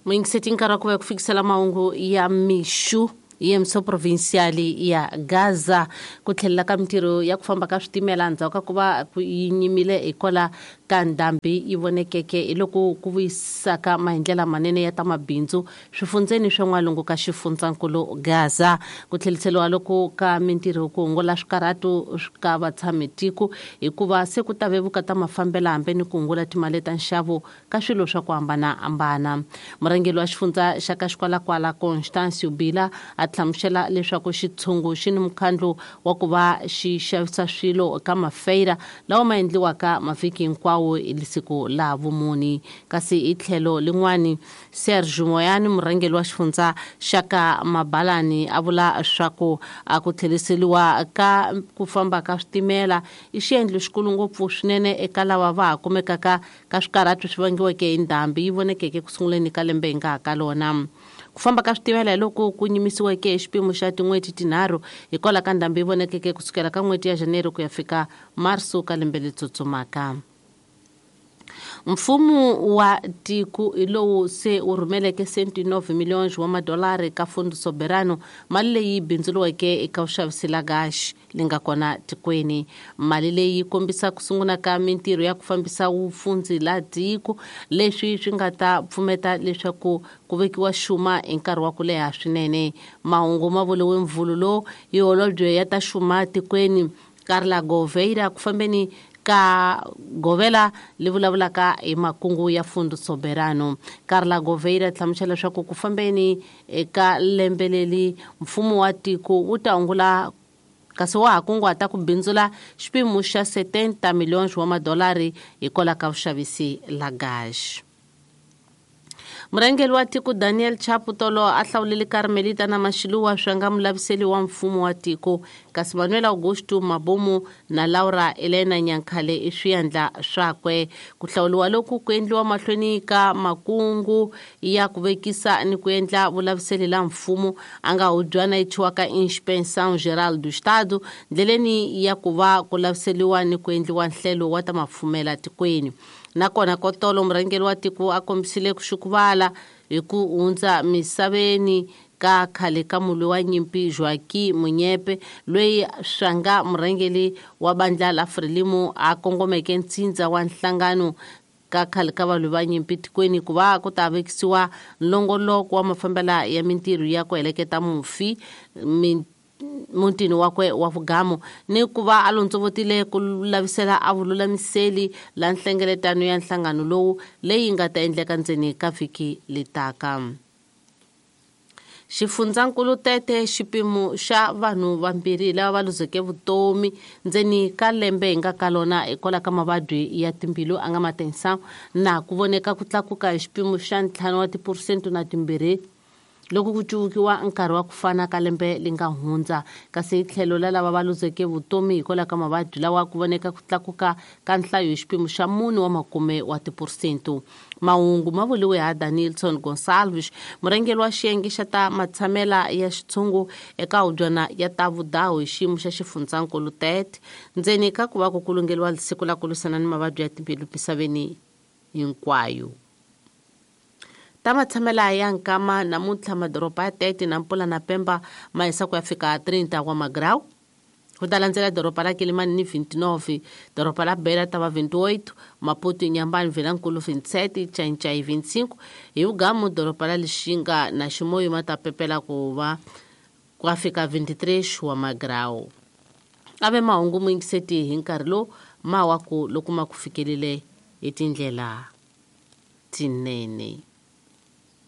Muyingiseti, nkarhi wa ku va ku fikisela mahungu ya mixu yemso provincial ya Gaza. Ku tlhelela ka mintirho ya ku famba ka switimela endzhaku ka ku va yi nyimile hikwalaho ka ndhambi yi vonekeke hi loko ku vuyisaka mahindlela manene ya ta mabindzu swifundzeni swa n'walungu ka xifundzankulu Gaza. Ku tlheliseriwa loko ka mintirho ku hungula swikarhato ka vatshami tiko hikuva se ku ta vevuka ta mafambela hambi ni ku hungula timali ta nxavo ka swilo swa ku hambanahambana. Murhangeri wa xifundza xa ka Xikwalakwala Constancio Bila a hlamusela leswaku xitshungu xi ni mukhandlu wa ku va xi xavisa swilo ka mafeira lawa ma endliwaka mavhiki hinkwawo hi siku la vumuni. Kasi hi tlhelo lin'wani, Sergio Moyani, murhangeri wa xifundza xa ka Mabalani, a vula swaku a ku tlheriseriwa ka ku famba ka switimela i xiendlo xikulu ngopfu swinene eka lava va ha kumekaka ka swikarhato swi vangiweke hi ndhambi yi vonekeke ku sunguleni ka lembe hi nga ha ka lona. Ku famba ka switimela hi loko ku nyimisiweke hi xipimo xa tin'hweti tinharhu hikwalaho ka ndhambi yi vonekeke kusukela ka n'hweti ya Janeiro ku ya fika Marso ka lembe leri tsutsumaka. Mfumo wa tiko hi lowu se wu rhumeleke 109 miliyoni wa madolari ka Fundo Soberano, mali leyi bindzuriweke eka vuxavisi la gaxi li nga kona tikweni. Mali leyi yi kombisa ku sungula ka mintirho ya ku fambisa vupfundzi la tiko, leswi swi nga ta pfumeta leswaku ku vekiwa xuma hi nkarhi wa ku leha swinene. Mahungu ma vuriwe mvulu lowu hi holobye ya ta xuma tikweni Carla Gouveia ku fambeni ka govela li vulavulaka hi makungu ya Fundo Soberano. Carla Gouveia hlamusela leswaku ku fambeni eka lembe leri mfumo wa tiko wu ta hungula kasi wa ha kunguhata ku bindzula xipimo xa 70 miliyoni wa madolari hikwalaho ka vuxavisi la gaxi. Murhangeri wa tiko Daniel Chapo tolo a hlawulile Carmelita na Mashiluwa swi nga mulaviseli wa mfumo wa tiko, kasi Manuel Augusto Mabomu na Laura Elena Nyankhale i swiandla swakwe. Ku hlawuliwa loku ku endliwa mahlweni ka makungu ya ku vekisa ni ku endla vulaviseli la mfumo a nga hubyana yi thyiwaka Inspeção Geral do Estado ndleleni ya ku va ku laviseliwa ni ku endliwa nhlelo wa ta mafumela tikweni. Nakona kotolo murhangeri wa tiko a kombisile ku xukuvala hi ku hundza misaveni ka khale ka mulwi wa nyimpi Joaquim Munyepe, loyi swanga murhangeri wa bandla la Frelimo a kongomeke ntsindza wa nhlangano ka khale ka valwi va nyimpi tikweni ku va ku ta vekisiwa nlongoloko wa mafambela ya mintirho ya ku heleketa mufi mutini wakwe wa vugamu ni ku va a londzovotile ku lavisela a vululamiseli la nhlengeletano ya nhlangano lowu leyi nga ta endleka ndzeni ka vhiki letaka. Xifundzankulu Tete xipimo xa vanhu vambirhi lava va luzeke vutomi ndzeni ka lembe hi nga ka lona hikwalaho ka mavabyi ya timbilu a nga matensa na ku voneka ku tlakuka hi xipimo xa 5 wa tiphurosente na 2 loko ku cuvukiwa nkarhi wa ku fana ka lembe li nga hundza. Kasi hi tlhelo la lava va luzeke vutomi hikwalaho ka mavabyi lawa ku voneka ku tlakuka ka nhlayo hi xipimo xa 4 wa makume wa tiphurosente. Mahungu ma vuriwe ha Danilson Gonçalves, murhangeri wa xiyenge xa ta matshamela ya xitshungu eka hubyana ya ta vudahu hi xiyimo xa xifundzankulu Tete, ndzeni ka ku va ku kulungeriwa siku la ku lwisana ni mavabyi ya timbilu misaveni hinkwayo. Ta matshamela ya nkama namuntlha madoroba ya Tete na Mpula na Pemba ma hisa ku ya fika 30 wa magrawu. Ku ta landzela doroba la Kilimani ni 29, doroba la Beira ta va 28, Maputo, Inhambane, Vilankulu 27, Xai-Xai 25, hi vugamu doroba la Lixinga na Ximoyo ma ta pepela ku va ku ya fika 23 wa magrawu. A ve mahungu muyingiseti hi nkarhi lowu ma wa ku loko ma ku fikelile hi tindlela tinene.